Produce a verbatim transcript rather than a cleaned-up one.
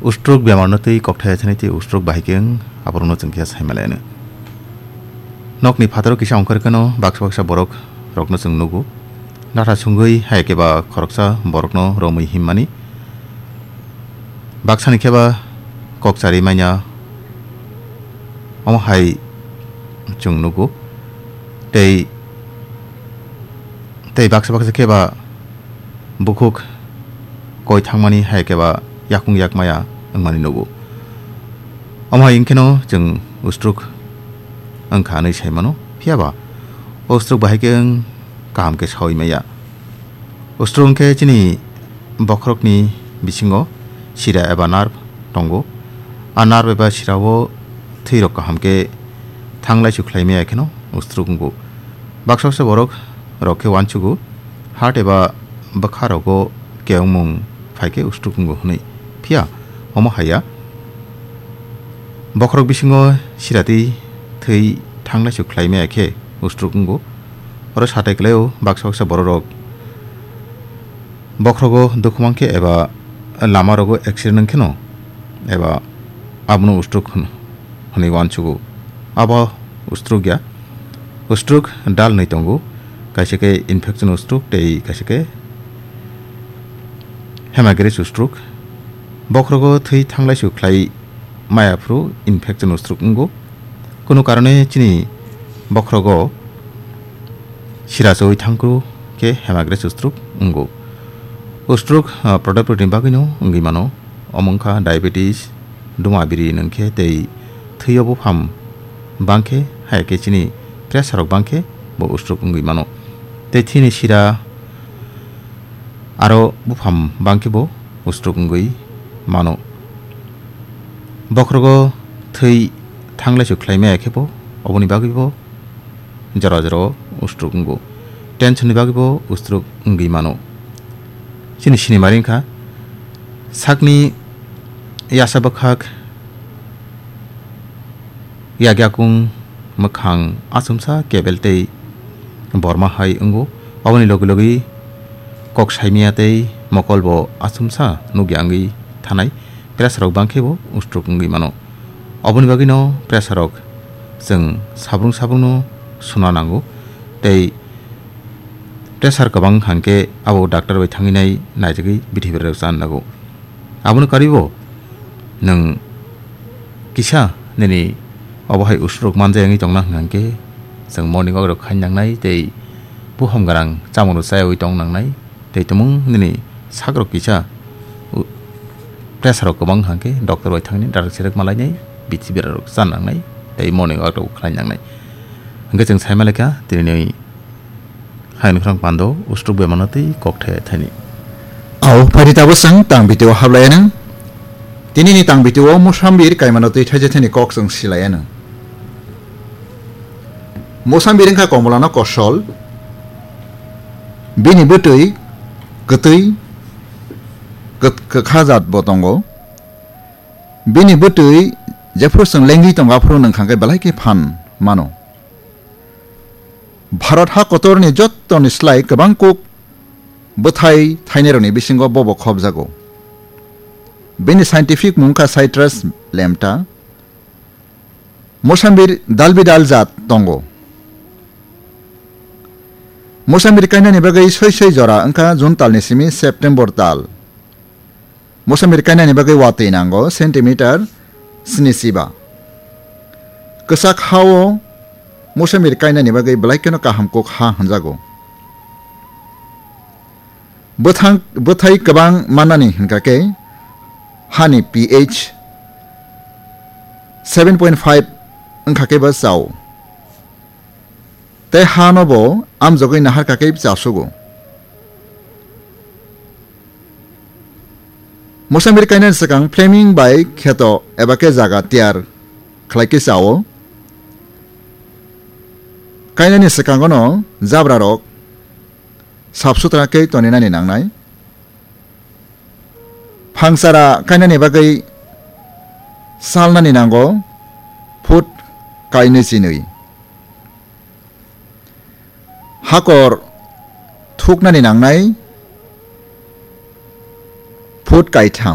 Ustruk bemarno twi kokthai thani tei ustruk bahai khe wng, aborokno chwng khe sai maliya nw. Nokni phataro kisa ongkhor kheno baksa baksa borok rokno chwng nugo. Natha sungwi hai khe ba khoroksa borokno romwi himmani. Baksani khe ba kok chari manya, omo hai chwng nugo. Tei, tei baksa baksa khe ba bukhuk koi thangmani hai khe ba yakung yak maya wngmani nugo. Omo hai wngkheno chwng ustruk wngkha hwnwi sai mano, phiya ba o ustruk bahai khe wng kaham khe saui maya. Ustruk wngkhe chini bokhorokni bisingo sira eba nerve tongo. A nerve eba sirao thwirok kaham khe thanglaisu khlai maya kheno ustruk wngo. Baksa baksa borok rok khe uansugo, heart eba bwkha rogo kewngmung phai khe ustruk wngo hwnwi. Phiya omo haiya. Bokhorok bisingo siratwi thwi thanglaisu khlai maya khe ustruk wngo. Oro satai kwlaio baksa baksa bororok bokhorogo dukhu mankhe eba lama rogo accident wngkheno eba abono ustruk hwn-, hwnwi uansugo. Abo ustruk ya. Ustruk dal nwi tongo. Kaisa khe infection ustruk tei kaisa khe hemorrhagic ustruk. Bokhorogo thwi thanglaisu khlai maya phuru infection ustruk wngo. Kunu karone chini bokhorogo sira chawi thangkru khe hemorrhagic ustruk wngo. Ustruk, ah, product ni bagwino wngwi mano. Omo wngkha diabetes, duma biri nwngkhe tei thwio bupham bangkhe, hai khe chini pressure rok bangkhe bo ustruk wngwi mano. Tei thini sira aro bupham bangkhe bo ustruk wngwi mano. Bokhorogo thwi thanglaisu khlai maya khe bo, oboni bagwi bo jora jora o ustruk wngo. Tension ni bagwi bo ustruk wngwi mano. Chini sinimari wngkha sakni yasa bwkhak, yagyakung, mwkhang achomsa kebel tei borma hai wngo. Aboni logi logi kok saimaya tei mokol bo achomsa nukya wngwi thanai. Pressure rok bangkhe bo ustruk wngwi mano. Oboni bagwino pressure rok chwng sabrung sabrungno suna nango tei pressure kwbang hangkhe abo doctor bai thangwi nai naijagwi bithi berajak chan nago. Abono karwibo nwng kisa nini obo hai ustruk manjak wngwi tongna hwnkhe chwng morning walk rok khaina nangnai tei buphang gwnang chamung rok chayawi tong nangnai. Tei tumung nini sakrok kisa, u-, pressure rok kwbang hangkhe doctor bai thangni darak serak malainai, bithi berarok chan nangnai, tei morning walk rok khlai nangnai. Hingkhe chwng sai malaikha, tini ni hayung khorang pando, ustruk bemano tei kok thai thani. Au, phaidi tabuk chwng tang video hablai anw. Tini ni tang video o mosambir kaimano twi thaijak thani kok chwng silai anw. Mosambir wngkha komolano kosol, bini bwtwi kwtwi kwt-, kwkha jat bo tongo. Bini bwtwi jephuru chwng lengwi tongo, aphuru nwng kha khe belai khe phan mano. Bharat ha kotorni jottoni slai kwbang kuk bwthai thainairokni bisingo bobo khopjago. Bini scientific mung kha Citrus lampta. Mosambir dal bidal jat tongo. Mosambir kainani bagwi soi soi jora wngkha June talni simi September tal. Mosambir kainani bagwi watwi nango centimeter sni chiba. Kwchak ha-o mosambir kainani bagwi belai kheno kaham kuk ha hwnjago. Bwthang-, bwthai kwbang mannani hwnkha khe hani pH seven point five wngkha khe bo chao. Tei hano bo amjogwi naharkha khe chasugo. Mosambir kainani swkang flaming bai kheto eba khe jaga tiyar khlai khe chao. Kainani swkangono jabrarok sap sutra khe toninani nangnai. Phangchara kainani bagwi salnani nango foot kainwi chinwi. Hakor thuknani nangnai foot kaitham.